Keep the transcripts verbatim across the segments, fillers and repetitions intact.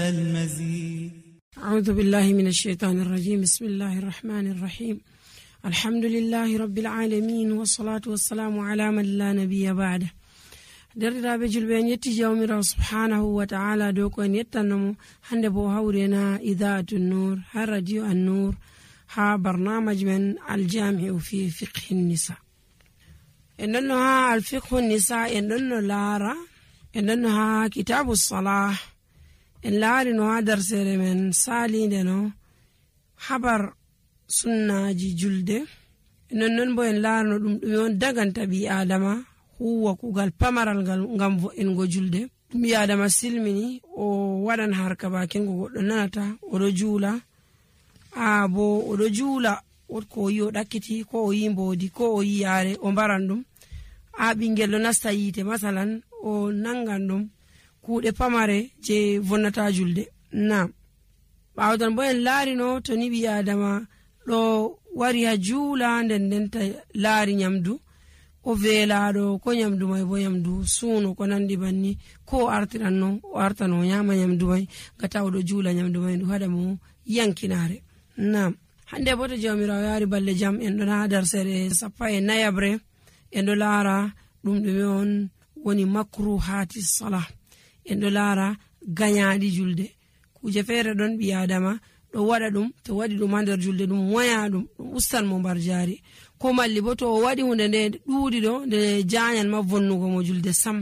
المزيد. أعوذ بالله من الشيطان الرجيم. بسم الله الرحمن الرحيم. الحمد لله رب العالمين والصلاة والسلام على من لا نبي بعده. derdiraaɓe julɓe en yetti jawmirawo subhanahu wa ta'ala dow ko en yettannomo hande bo hawrena idaatu nur ha radio an nur ha barnamaj men aljami'u fi fiqhi nisa. en ɗonno ha alfiqhu nisa en ɗonno laara en ɗonno ha kitabu salah en laari no ha darsere men salinde no habar sunnaji julde. non non bo en laarno ɗum ɗum on daganta ɓi adama huwa kugal pamaral ngal ngam vo'ingo julde. ɓi adama silmini o waɗan harka bakin go goɗɗo nanata oɗo juula a bo oɗo juula ko o yi o ɗakkiti ko o yi mbodi ko o yi yaare o mbaran ɗum a ɓingel ɗo nasta yiite masalan o nangan ɗum kuuɗe pamare je vonnata julde. nam ɓawtan bo en laarino to ni ɓi adama ɗo wari ha juula nden ndenta laari nyamdu o veelaɗo ko nyamdu mai bo nyamdu suuno ko nandi banni ko o artiran no o artan o nyama nyamdu mai gata oɗo juula nyamdu mai ndu haɗa mo yankinare. nam hande bo to jawmirawo yaari balle jam en ɗon ha darsere sappa e nayabre en ɗo laara ɗum ɗume on woni makruhati salah. en ɗo laara gañaɗi julde. kuje feere ɗon ɓi adama ɗo waɗa ɗum to waɗi ɗum ha nder julde ɗum waya ɗum ɗum ustan mo mbar jaari ko malli bo to o waɗi hunde nde ɗuuɗi ɗo nde jañan ma vonnugo mo julde sam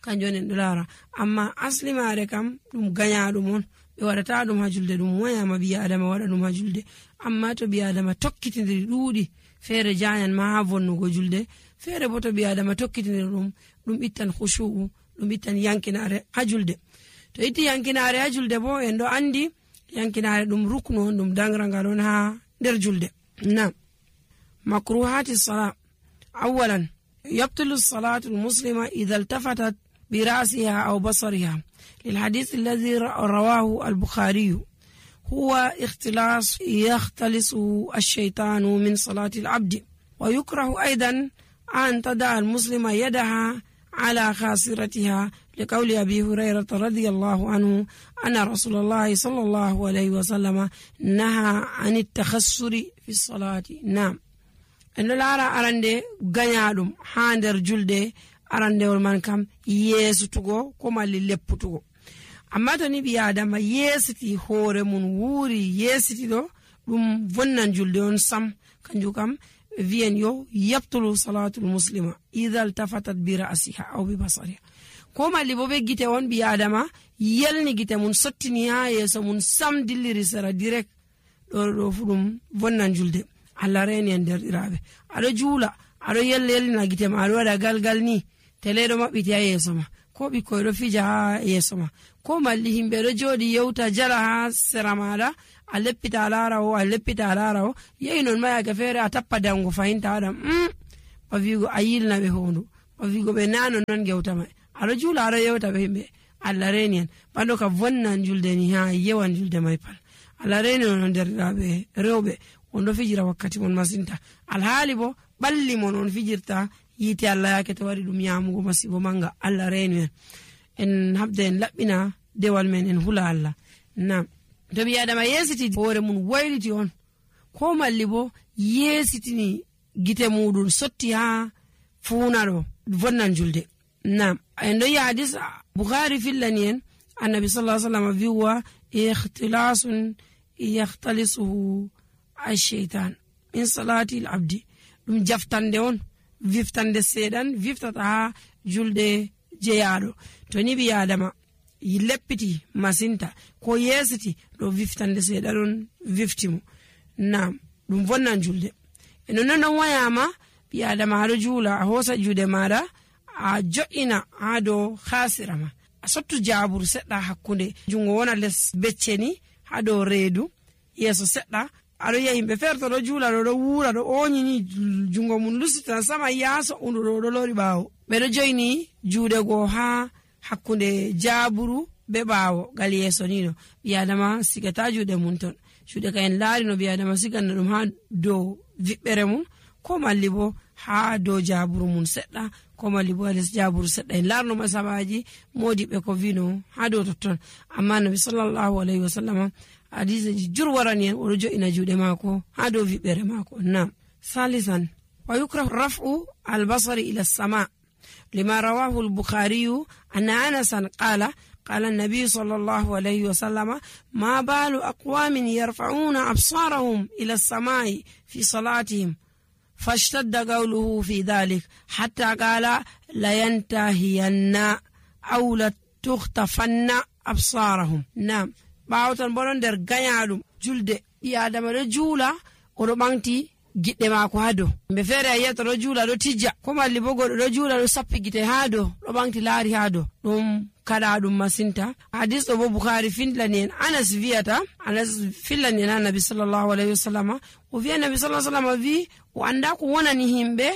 kanjum on en ɗo laara. amma asli maare kam ɗum gañaɗum on ɓe waɗata ɗum ha julde ɗum wayama ɓi adama waɗa ɗum ha julde. amma to ɓi adama tokkitidiri ɗuuɗi feere jañan ma ha vonnugo julde feere bo to ɓi adama tokkitidiri ɗum ɗum ittan khushu'u ɗum ittan yankinare ha julde. to itti yankinare ha julde bo en ɗo andi yankinare ɗum ruknu on ɗum dangrangal on ha nder julde. nam makruhati salat. awalan yabtulu salatu lmuslima idha iltafatat birasiha aw basariha lilhadith alladhi rawahu albukhariyu huwa ikhtilas yakhtalisu alshaytanu min salati alabdi wa yukrahu aidan an tada almuslima yadaha على خاصرتها لقول أبي هريرة رضي الله عنه أن رسول الله صلى الله عليه وسلم نهى عن التخسر في الصلاة. نعم en ɗo laara arande gañaɗum ha nder julde arandewol man kam yeesutugo ko malli lepputugo. amma to ni ɓi adama yeesiti hoore mun wuuri yeesiti ɗo ɗum vonnan julde on sam. kanjum kam viyen yo yabtulu salatul muslima idha iltafatat bi ra'siha aw bi basariha. ko malli bo be gite on ɓi adama yelni gite mun sottini ha yeeso mun sam dilliri sera direct ɗo ɗo fu ɗum vonnan julde. Allah reni en derɗiraɓe aɗo juula aɗo yelle yellina gite ma aɗo waɗa galgal ni teleɗo maɓɓiti ha yeeso ma ko ɓikkoy ɗo fija ha yeeso ma ko malli himɓe ɗo jooɗi yewta jala ha sera maɗa a leppita lara o a leppita lara o yehi non mayake feere a tappa dango fahinta waɗam mm, ba wigo a yilna ɓe hondu ba wigo ɓe nano non gewta mai aɗo juula aɗo yewta ɓe himɓe. Allah reni en ɓanɗo ka vonnan julde ni ha yewan julde mai pal. Allah reni on derɗiraɓe rewɓe on ɗo fijira wakkati mon masinta alhaali bo ɓalli mon on fijirta yiite Allah yake to waɗi ɗum yamugo masibo manga. Allah reni en en habda en laɓɓina dewal men en hula Allah. nam to ɓi adama yeesiti hoore mun wayliti on ko malli bo yeesitini gite muɗum sotti ha fuuna ɗo vonnan julde. nam en ɗo yi hadis bukhari fillani en annabi sallallahu alaihi wasallam wiwa ikhtilasun yakhtalisuhu alsheitan min salati alabdi. ɗum jaftande on viftande seeɗan viftata ha julde jeyaɗo. to ni ɓi adama leppiti masinta ko yeesiti ɗo viftande seeɗa ɗon viftimo. nam ɗum vonnan julde. eno non ɗon wayama ɓi adama aɗo juula a hoosa juuɗe maɗa a jo'ina ha dow hasira ma a sottu jaburu seɗɗa hakkunde jungo wona les becce ni ha dow reedu yeeso seɗɗa aɗo yiya yimɓe feere to ɗo juula ɗo ɗo wuura ɗo oñini jungo mum lusitan sama yaaso undu ɗo ɗo lori ɓaawo ɓeɗo joyni juuɗe goo ha hakkunde jaburu be ɓaawo gal yeeso nino ɓi adama sigata juuɗe mum ton juuɗe ka en laari no ɓi adama siganna ɗum ha dow viɓɓere mum ko malli bo ha dow jaburu mun seɗɗa ko malli bo les jaburu seɗɗa en larno masabaji modiɓe ko vino ha dow totton. amma nabi sallallahu alaihi wasallama hadiseji jur warani en oɗo jo'ina juuɗe mako ha dow viɓɓere mako. nam salisan wa yukrahu raf'u albasari ila sama lima rawahu al-bukhariyu anna anasan qala قال النبي صلى الله عليه وسلم ما بال أقوام يرفعون أبصارهم إلى السماء في صلاتهم فاشتد قوله في ذلك حتى قال لينتهين أو لتختفن أبصارهم. نعم باوتن بولون در غنيالوم جولد يا آدم رجولا ورو بانتي giɗɗe maako ha dow. Himɓe feere a yiyata ɗo juula ɗo tijja, ko malli bo goɗɗo ɗo juula ɗo sappi gite ha dow ɗo ɓanti laari ha dow. ɗum kaɗa ɗum masinta. Hadis ɗo bo Bukhari fillani en Anas wiyata, Anas fillani en Nabi sallallahu alaihi wasallama, o wiya Nabi sallallahu alaihi wasallama wi o anda ko wonani himɓe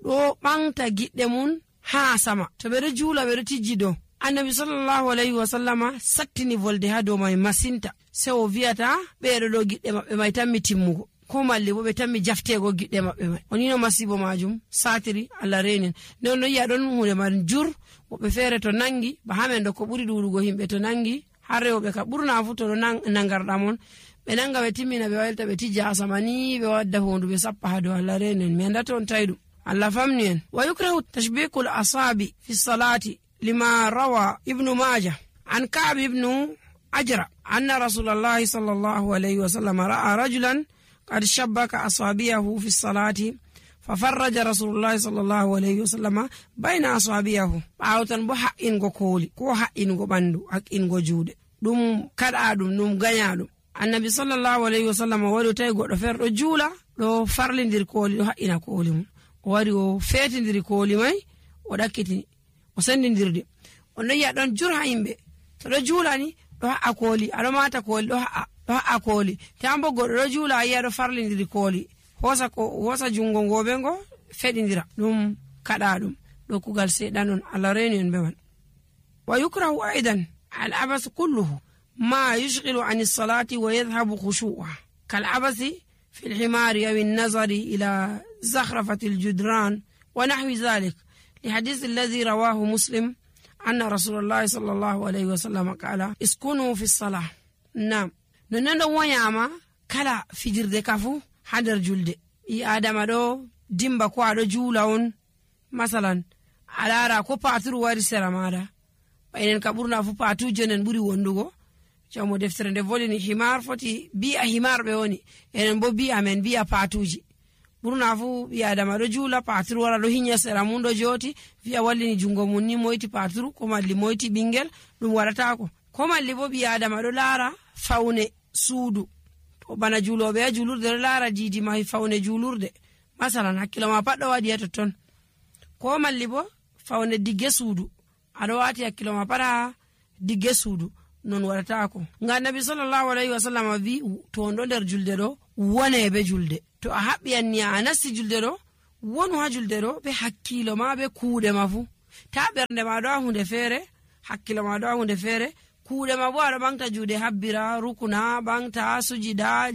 ɗo ɓanta giɗɗe mun ha sama. To ɓe ɗo juula ɓe ɗo tijji dow. Annabi sallallahu alaihi wasallama sattini volde ha dow mai masinta. Se o wiyata ɓeɗo ɗo giɗɗe maɓɓe mai tammi timmugo. ko malli bo ɓe tammi jaftego giɗɗe maɓɓe mai. onino masibo majum satiri Allah renin. nden no yi'a ɗon hunde man jur woɓɓe feere to nangi ba hamen ɗo ko ɓuri ɗuɗugo himɓe to nangi har rewɓe ka ɓurna fu to ɗo nangarɗa mon ɓe nanga ɓe timmina ɓe walta ɓe tijja asama ni ɓe wadda hondu ɓe sappa ha dow Allah renin. mi andata on tawi ɗum Allah famni en. wa yukrahu tashbikul asabi fi salati lima rawa ibnu majah an Ka'b ibnu ajra anna rasulallahi sallallahu alayhi wa sallam ra'a rajulan قد شبك أصابعه في الصلاة ففرج رسول الله صلى الله عليه وسلم بين أصابعه باوتن بو حقين go koli ko haqqin go bandu haqqin go juude dum kada dum dum ganya dum. annabi sallallahu alaihi wasallam wari tay goddo ferdo juula do farlindir koli do haqqina koli mum o wari o fetindiri koli mai o dakkitini o sendindirde on no ya don jur ha yimbe to do juulani do ha koli ado mata koli do ha do ha koli tambo goddo do juula yiya do farlindiri koli hosa ko hosa jungo ngobe ngo fedindira dum kada dum do kugal sedanon Allah renin be man. wa yukrahu aidan al abas kulluhu ma yushghilu an as-salati wa yadhhabu khushu'uha kal abasi fi al-himari aw an-nazari ila zakhrafati al-judran wa nahwi dhalik li hadith alladhi rawahu muslim anna rasulullah sallallahu alayhi wa sallam qala iskunu fi as-salah. nam nonando wonyama kala fijirde kafu hadar julde i adama do dimba ko ado juula on masalan alara ko paturu wari sera mada baynen ka burna fu patu jonen buri wondugo jamo deftere nde volini himar foti bi a himar be woni enen bo bi amen bi a patuji burna fu bi adama do juula paturu wara do hinya sera mundo joti via wallini jungo mun ni moyti paturu ko malli moyti bingel dum warata ko ko malli bo bi adama do lara fawne suudu to bana juuloɓe a juulurde ɗo laara diidi ma fawne juulurde masalan hakkilo ma pat ɗo waɗi ha totton ko malli bo fawne digge suudu aɗo wati hakkilo ma pat ha digge suudu non waɗatako. nga nabi sallallahu alayhi wa sallam wi to on ɗo nder julde ɗo wone be julde to a haɓɓiyanni a nasti julde ɗo wonu ha julde ɗo be hakkilo ma be kuuɗe ma fu ta ɓernde ma ɗo ha hunde feere hakkilo ma ɗo ha hunde feere kuuɗe ma bo aɗo ɓangta juuɗe habbira rukuna ɓangta sujida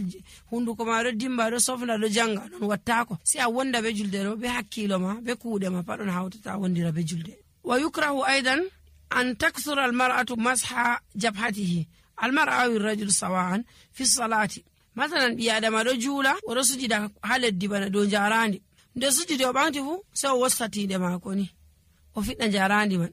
hunduko ma ɗo dimba ɗo sofna ɗo janga non wattako si a wonda be julde ɗo be hakkilo ma be kuuɗe ma paɗon hawtata wondira be julde. wa yukrahu aidan an takthura almar'atu masha jabhatihi almar'a aw ar-rajul sawa'an fi salati. masalan ɓi adama ɗo juula oɗo sujida ha leddi bana dow jarandi nde sujidi o ɓangti fu sai o wostatinde mako ni o fiɗɗa jarandi man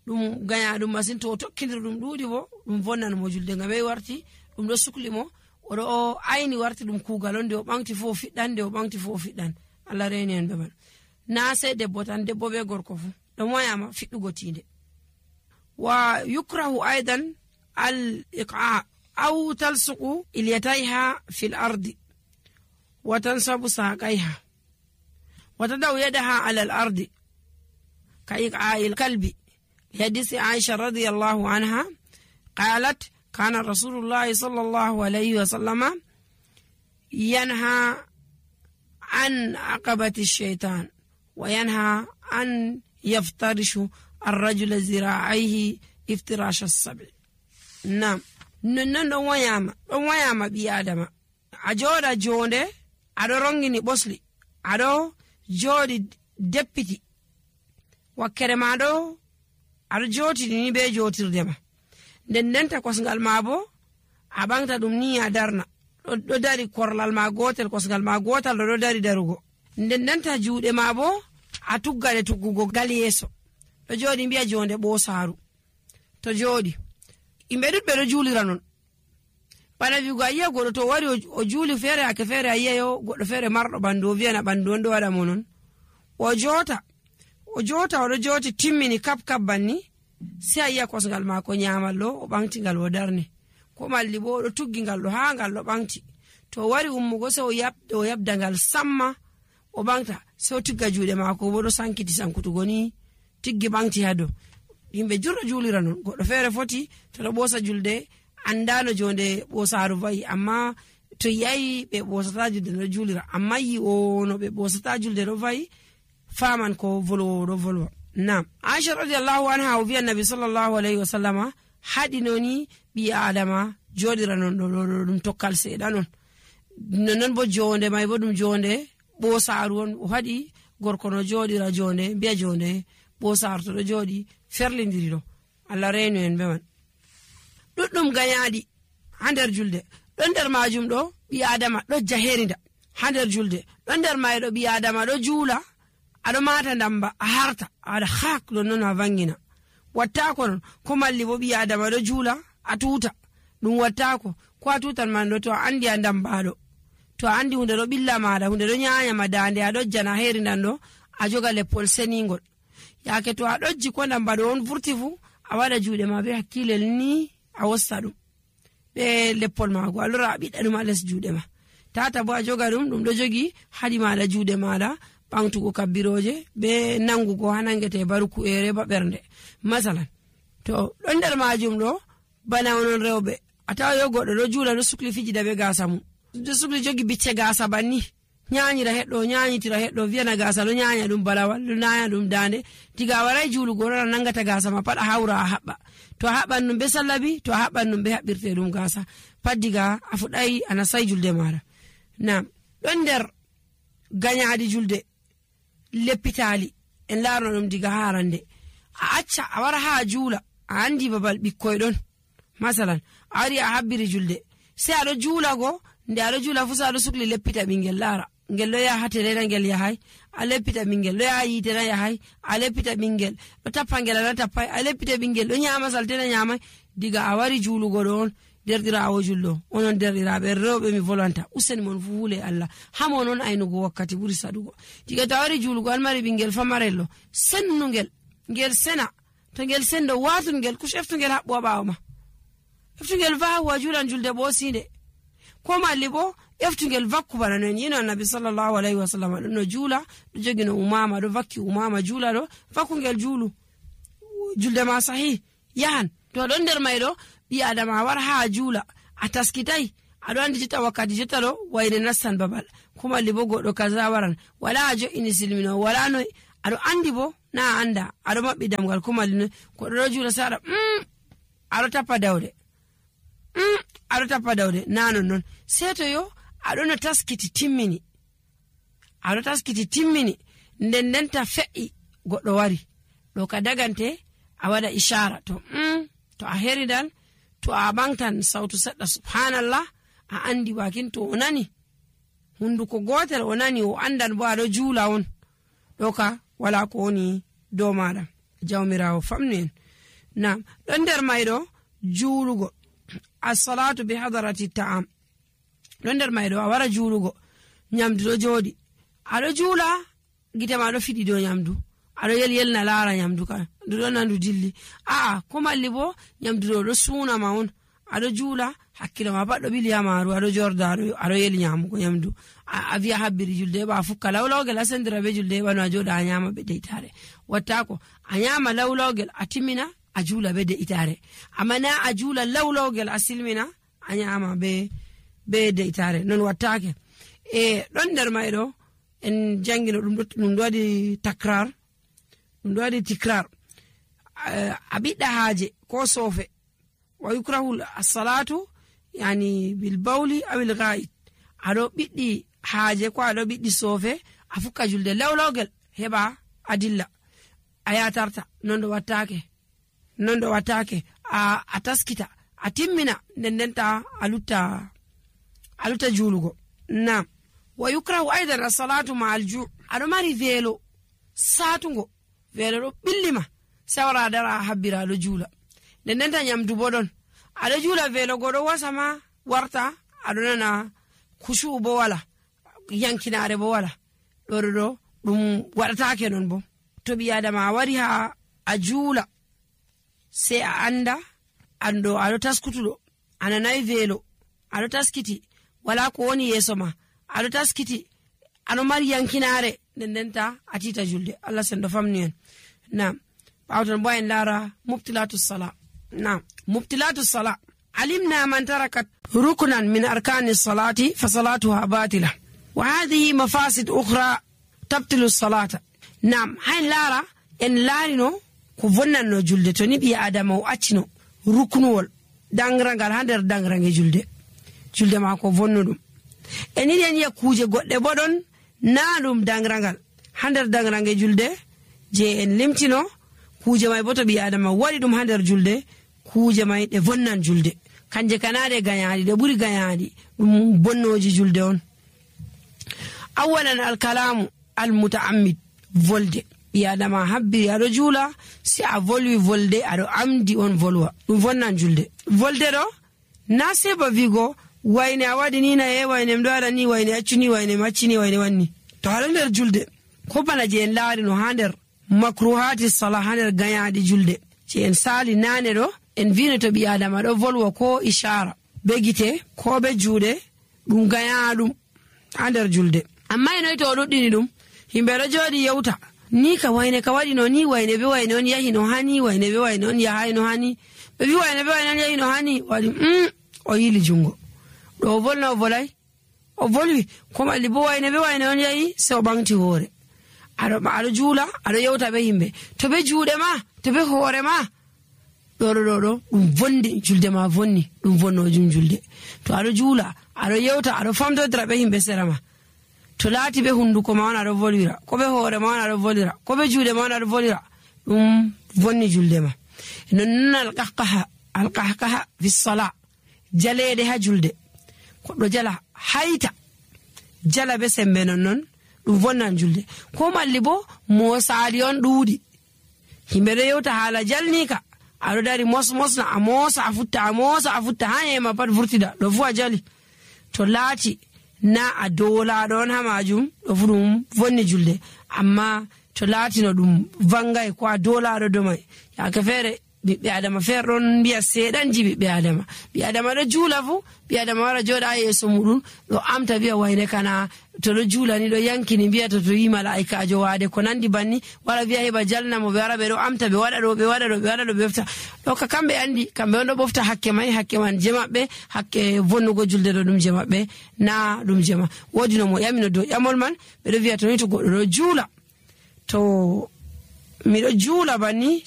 ɗum ganya ɗum masin to o tokkidir ɗum ɗuuɗi bo ɗum vonnan mo julde ngam ɓe warti ɗum ɗo sukli mo oɗo o ayni warti ɗum kuugal on nde o ɓangti fo o fiɗɗan nde o ɓangti fo o fiɗɗan Allah reni en ɓe man. na sei debbo tan debbo ɓe gorko fu ɗum wayama fiɗɗugo tinde. wa yukrahu aidan al iqa aw talsuqu ilyatayha fil ardi wa tansabu saqayha wa tadaw yadaha ala al ardi ka iqa'il kalbi. لحديث عائشة رضي الله عنها قالت كان رسول الله صلى الله عليه وسلم ينهى عن عقبة الشيطان وينهى أن يفترش الرجل ذراعيه افتراش السبع. نعم نن وياما وياما بي آدم أجود جونde aɗo rongini ɓosli aɗo jooɗi deppiti wakkere ma ɗo aɗo jotini ni be jotirde ma nden ndenta kosngal ma bo a ɓamta ɗum ni a darna ɗo dari korlal ma gotel kosngal ma gotal ɗo ɗo dari darugo nden ndenta juuɗe ma bo a tuggade tuggugo gal yeeso ɗo jooɗi mbiya jonde ɓosaru to jooɗi yimɓe ɗuɗɓe ɗo juulira non bana wigo a yiya goɗɗo to wari o juuli feere ake feere a yiya yo goɗɗo feere marɗo ɓandu o wiyana ɓandu on ɗo waɗa mo non o jota o jota oɗo joti timmini kap kap banni si a yiya kosngal maako nyamal ɗo o ɓamti ngal o darni ko malli bo oɗo tuggi ngal ɗo ha ngal ɗo ɓamti to o wari ummugo se o yabda o yabda ngal samma o ɓamta se o tigga juuɗe maako bo ɗo sankiti sankutugo ni tiggi ɓamti ha dow yimɓe jurɗo juulira non goɗɗo feere foti to ɗo ɓoosa julde andano jonde ɓosaru vayi amma to yayi ɓe ɓosata julde ɗo juulira amma yi o no ɓe ɓosata julde ɗo vayi faman ko volwowo ɗo volwa. Nam Aisha radiyallahu anha o wi annabi sallallahu alayhi wa sallama haɗinoni ɓi adama joɗira non ɗo ɗo ɗum tokkal seeɗa non nonnon bo jonde may bo ɗum jonde ɓosaru on o haɗi gorko no joɗira jonde mbiya jonde ɓosaru to ɗo joɗi ferlidiri ɗo Allah renu en be man ɗuɗɗum gañaɗi ha nder julde ɗo nder majum ɗo ɓi adama ɗo jaherinda ha nder julde ɗo nder mayɗo ɓi adama ɗo juula aɗo mata ndamba a harta aɗa hak ɗon noon a vangina wattako non ko malli bo ɓi adama ɗo juula a tuta ɗum wattako ko a tutan man ɗo to a andi a ndambaɗo to a andi hunde ɗo ɓilla maɗa hunde ɗo nyanyama dande a ɗojjana herindan ɗo a joga leppol senigol yake to a ɗojji ko ndambaɗo on vurti fu a waɗa juuɗe ma be hakkilel ni a wosta ɗum ɓe leppol mago a lora a ɓiɗɗa ɗum a les juuɗe ma tata bo a joga ɗum ɗum ɗo jogi haɗi maɗa juuɗe maɗa ɓamtugo kabbiroje be nangugo ha nangete baruku ere ba ɓernde masalan to ɗo nder majum ɗo bana onon rewɓe a tawa yo goɗɗo ɗo juula ɗo sukli fijida be gasa mum ɗo sukli jogi bicce gasa banni nyanyira heɗɗo nyanyitira heɗɗo wiyana gasa ɗo nyanya ɗum balawal ɗo naya ɗum dande diga a waray juulugo ɗon a nangata gasa ma pat a hawra a haɓɓa to a haɓɓan ɗum be sallabi to a haɓɓan ɗum be haɓɓirte ɗum gasa pat diga a fuɗɗay a nasay julde maɗa nam ɗon nder gañaɗi julde leppitali en larno ɗum diga harande a acca a wara ha juula a andi babal ɓikkoy ɗon masalan a wari a habbiri julde sai aɗo juula go nde aɗo juula fu sa aɗo sukli leppita ɓingel lara ngel ɗo yaha terena ngel yahay a leppita ɓingel ɗo yaha yitena yahay a leppita ɓingel ɗo tappa ngel ana tappay a leppita ɓingel ɗo nyama saltena nyamay diga a wari juulugo ɗo on derɗirawo julɗo onon derɗiraɓe rewɓe mi volanta useni mon fu huule Allah hamo noon aynugo wakkati ɓuri saɗugo diga to a wari juulugo an mari ɓingel famarello sennugel ngel sena to ngel sendo watun ngel kush eftugel haɓɓu ha ɓawo ma eftugel vahu a juulan julde ɓosinde ko malli bo eftugel vakku bana no en yino annabi sallallahu alayhi wa sallam ɗo no juula ɗo jogi no umama ɗo vakki umama juula ɗo vakkugel juulu julde ma sahi yahan to ɗon nder may ɗo ɓi adama a wara ha juula a taskitay aɗo andi jotta wakkati jotta ɗo wayne nastan babal ko malli bo goɗɗo kaza waran wala a jo'ini silmino wala noy aɗo andi bo na a anda aɗo maɓɓi damgal ko malli noy goɗɗo ɗo juula saɗa mm, aɗo tappa dawde mm, aɗo tappa dawde na non non sei to yo aɗo no taskiti timmini aɗo taskiti timmini nden ndenta fe'i goɗɗo wari ɗo ka dagante a waɗa ishara to mm, to a heridal to a ɓamtan sautu seɗɗa subhanallah a andi wakin to o nani hunduko gotel o nani o andan bo aɗo juula on ɗo ka wala ko woni dow maɗa jawmirawo famni en nam ɗon nder mayɗo juulugo assalatu bi hadarati ta'am ɗon nder mayɗo a wara juulugo nyamdu ɗo jooɗi aɗo juula gite ma ɗo fiɗi dow nyamdu aɗo yel yelna laara nyamdu ka ndu ɗon nandu dilli aa ko malli bo nyamdu ɗo ɗo suunama on aɗo juula hakkilo ma pat ɗo ɓili ha maaru aɗo jorda aɗo yeli nyamugo nyamdu a wiya habbiri julde heɓa a fukka lawlawgel a sendira be julde heɓa no a joɗa a nyama be de'itare wattako a nyama lawlawgel a timmina a juula be de'itare amma na a juula lawlawgel a silmina a nyama be be de'itare non wattake e ɗon nder mayɗo en jangino ɗum ɗum ɗo waɗi takrar ɗum ɗo waɗi tikrar a ɓiɗɗa haaje ko soofe wa yukrahul assalatu yani bil bawli awil ghaid aɗo ɓiɗɗi haaje ko aɗo ɓiɗɗi soofe a fukka julde lewlogel heba adilla a yatarta non do wattake non do wattake a, a taskita a timmina nden denta alutta alutta julugo. Naam. Wa yukrahu aidan as-salatu ma'al ju' ado mari velo satungo velo do billima sawra dara habbira do jula nden denta nyamdu bodon ado jula velo godo wasama warta ado nana kushu bo wala yankinaare bo wala do do dum wadataake non bo to bi adama wari ha a jula se a anda ando ado taskutudo ananai velo ado taskiti wala ko woni yeso ma ado taskiti ano mari yankinaare dendenta atita julde Allah sendo famni en. Naam. Bawton boyen lara mubtilatus sala. Naam. Mubtilatus sala alimna man tarakat ruknan min arkanis salati fa salatuha batila wa hadhihi mafasid ukhra tabtilu salata. Naam. Hay lara en larino ko vonnanno julde to ni bi adama o accino ruknuwol dangrangal hander dangrange julde julde ma ko vonnudum eni den ya kuje godde bodon naadum dangrangal hander dangrange julde je en limtino kuje may boto bi adama wadi dum hander julde kuje may de vonnan julde kanje kanade ganyaadi de buri ganyaadi dum bonnoji julde on. Awalan al kalamu al mutaammid volde bi adama habbi ado jula si a volwi volde ado amdi on volwa dum vonnan julde volde do na seba vigo wayne awadi ni na e wayne mdo ala ni wayne accuni wayne maccini wayne wanni to hander julde ko bana je en laari no hander makruhati salah hander gayaadi julde je en sali nane do en vino to bi adama do volwa ko ishara begite ko be juude dum gayaadum hander julde amma eno to duddini dum himbe do jodi yewta ni ka wayne ka wadi no ni wayne be wayne on yahi no hani wayne be wayne on yahi no hani be wi wayne be wayne on yahi no hani wadi mm o yili jungo do volno volay o volwi ko malli bo wayne be wayne on yahi se o bangti hore ado ado jula ado yewta be himbe to be juude ma to be hore ma do do do dum vondi julde ma vonni dum vonno jum julde to ado jula ado yewta ado famto dra be himbe serama to laati be hunduko ma wana do volira ko be hore ma wana do volira ko be juude ma wana do volira dum vonni julde ma non al qahqaha al qahqaha fi salat jalede ha julde ko do jala hayta jala be sembe non non dum vonnan julde ko malli bo mo saali on duudi himbe do yewta hala jalnika ado dari mos mosna amosa afutta amosa afutta hanye ma pat vurtida do fu a jali to laati na a dola don ha majum do fudum vonni julde amma to laati no dum vangay ko a dola do do mai ya ka fere bi adama ferron biya sedan jibi bi adama bi adama do jula fu bi adama wara joda yeso mudun do amta biya wayne kana to do jula ni do yankini biya to to yi malaika jo wade ko nandi banni wala biya heba jalna mo be wara be do amta be wada do be wada do be wada do be fta do ka kambe andi kambe on do bofta hakke mai hakke man jema be hakke vonnugo julde do dum jema be na dum jema wodi no mo yamino do yamol man be do biya to ni to goddo do jula to mi do jula banni